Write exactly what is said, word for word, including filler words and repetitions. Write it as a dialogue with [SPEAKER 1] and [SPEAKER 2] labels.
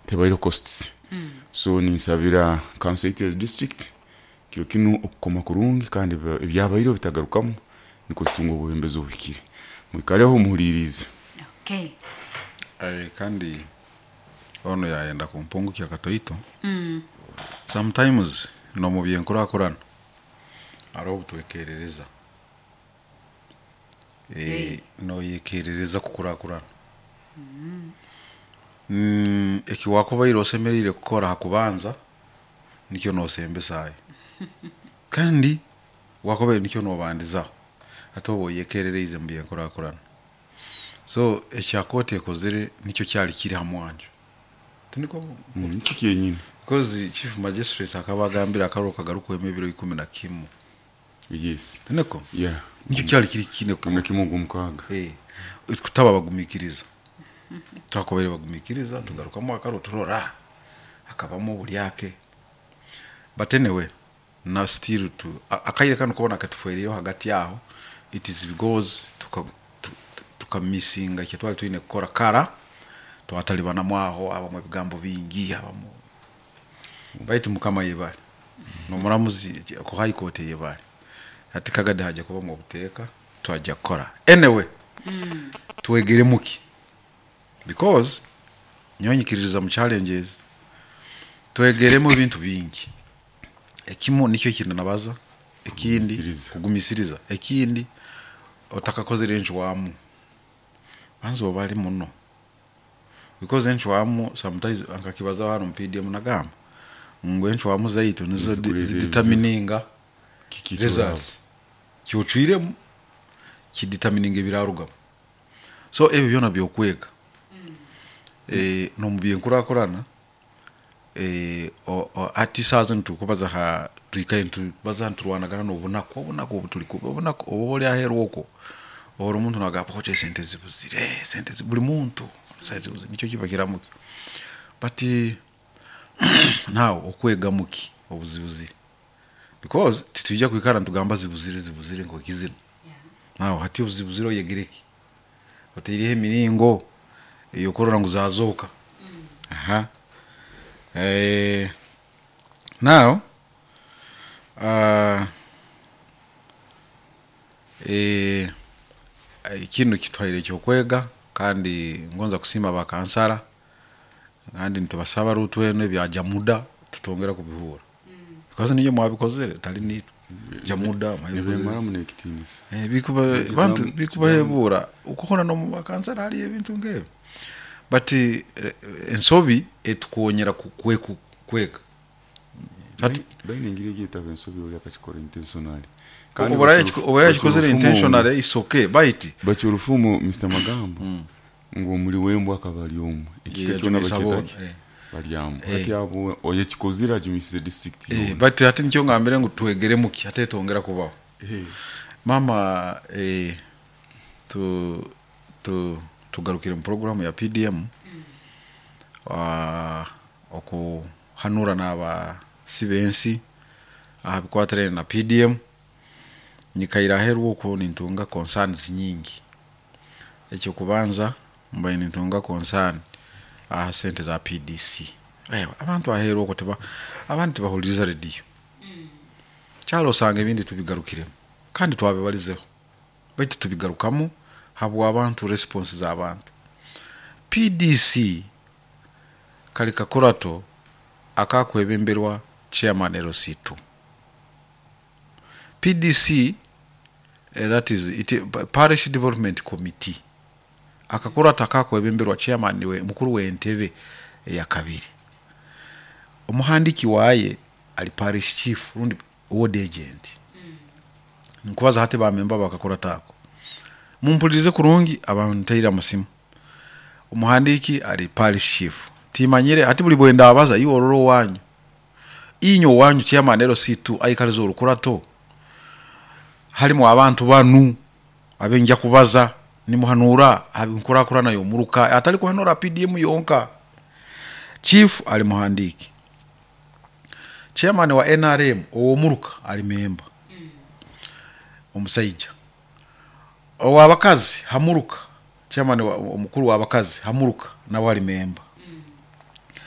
[SPEAKER 1] Tebaireho costs. So ninsabira council yaitu ya district kiro kinu okukoma kurungi kandi ebi- ebyabaireho bitagarukamu, nikwo tutunge obwebembezi obuhikire. Mwikaleho muhulirize.
[SPEAKER 2] Okay.
[SPEAKER 3] Eh, kandi ono yayenda kumpungukya katoito. Sometimes nomu byenkurakurana hariho obutwekerereza, eh, noyekerereza kukurakurana. Mm, eki wakubaire osemerire kukora hakubanza nikyo nosembesayo, kandi wakubaire nikyo nobandizaho, ate oba oyekerereize mu byenkurakurana. So ekya kooti ekozere nikyo kyali kiri ha mwanjo, tiniko?
[SPEAKER 1] Mm, nikyo kyenyini.
[SPEAKER 3] Because chief magistrate akaba agambire akaruru kagarukwemu ebiro ikumi na kimu.
[SPEAKER 1] Yes.
[SPEAKER 3] Tiniko?
[SPEAKER 1] Yeah.
[SPEAKER 3] Nikyo kyali kiri kine.
[SPEAKER 1] Kumi na kimu ogwomukaaga.
[SPEAKER 3] Eh, kutaba bagumikiriza, twakubaire bagumikiriza tugarukamu akaruru, turora hakabamu obulyake. But anyway, na still tu a- akaire kano kubona katufuerireho hagati aho, it is because tuka tu- tu- tukamisinga ekyo twali twine kukora kara. Twatalibanamu aho, abamu ebigambo bingi, abamu, baitu Mukama yebale nomuramuzi ku High Court yebale. Ati kagade haja kubamu obuteeka, twajja kukora. Anyway, twegeremuki? Because nyonyikiririza mu challenges, twegeremu ebintu bingi. Ekimu nikyo kintu nabaza, ekindi
[SPEAKER 1] Kugumisiriza.
[SPEAKER 3] Kugumisiriza. Ekindi, otakakozere enchwamu, banza obali muno, because enchwamu sometimes nkakibaza hano mu P D M, nagamba ngu enchwamu zaitu nizo
[SPEAKER 1] Nizikureza
[SPEAKER 3] zidetermininga
[SPEAKER 1] Kiki?
[SPEAKER 3] results. Kyocwiremu kidetermininga ebirarugamu. So ebyo byona byokwega. eh, nomu byenkurakurana, eh, o- o- ati saa zino tukubaza ha twikaye nitubaza, nturwanagana n'obunaku, obunaku obu tuli kuba obunaku obu oli aheeru okwo, ori omuntu nagamba kocha esente zibuzire, sente zi- buli muntu sente zibuzire, nikyo kiba kiramuki. But now okwega muki obuzibuzire? Because titwija kwikara nitugamba zibuzire, zibuzire nk'ekizina. Now hati obuzibuzire, oyegere ki? Oteireho emiringo eyokurora ngu zazooka. Aha. Eh, now uh, eh, kinu kitwaire ekyokwega, kandi ngonza kusiima bakansara, kandi nitubasaba rutu eno ebya Jamuda tutongera kubihura, because niyo mwabikozere, tali nitwe. Jamuda mwabikoze.
[SPEAKER 1] Nibemaramu n'ekitiinisa.
[SPEAKER 3] Eh, bikuba
[SPEAKER 1] Ekigambo-
[SPEAKER 3] bantu bikubahebura ukuhora no mu bakansara hariyo ebintu nk'ebyo. But eh, ensobi etukonyera ku- kwe- kwega. Hati-
[SPEAKER 1] Baine engeri egyetaba ensobi oli akakikora intentionally.
[SPEAKER 3] Oburaya kikozere intentionally is okay, bait
[SPEAKER 1] Bakya orufumu, Mister Magambo, ngu omuli wembwa akaba ari omwe, ekika kyona
[SPEAKER 3] Yajumisa
[SPEAKER 1] bakyetaki
[SPEAKER 3] boona, eh.
[SPEAKER 1] baryamu.
[SPEAKER 3] Eh.
[SPEAKER 1] Hati abo oyekikozire ajumisize district
[SPEAKER 3] Eh,
[SPEAKER 1] yoona.
[SPEAKER 3] but hati nikyo ngambire ngu twegere muki hati etongera kubaho.
[SPEAKER 1] Eh,
[SPEAKER 3] Mama, eh, tu, tu, tugarukire mu programu ya P D M, uh, okuhanura n'abasi b'ensi aha bikwatirene na P D M. Nyikaire aheeru okwo nintunga concerns nyingi. Ekyokubanza, mbaire nintunga concern aha sente za P D C. Ewa, abantu aheeru okwo tiba abandi tibahuliriza rediyo kyalo, osanga ebindi tubigarukiremu kandi twabibalizeho, baitu tubigarukamu habwa abantu, response z'abantu. P D C kali kakurato akakwebemberwa chairman L C two. P D C, eh, that is it, Parish Development Committee, akakurato akakwebemberwa chairman we mukuru w'entebe eya kabiri, omuhandiki waye ali parish chief rundi ward agent. Nkubaza hati bamemba bakakurato ako, mumpulirize kurungi, abantu ntaire amasimu. Omuhandiki ali parish chief, timanyire hati buli bwenda abaza iwe ororo wanyu, inyo wanyu chairman L C two aikaliza orukurato halimu abantu banu abenja kubaza nimuhanura abinkurakurana yomuruka, atali kuhanura P D M yonka. Chief ali muhandiki, chairman wa N R M owomuruka ali memba omusaija, owabakazi hamuruka, chairman wa, omukuru w'abakazi hamuruka nawe ali memba.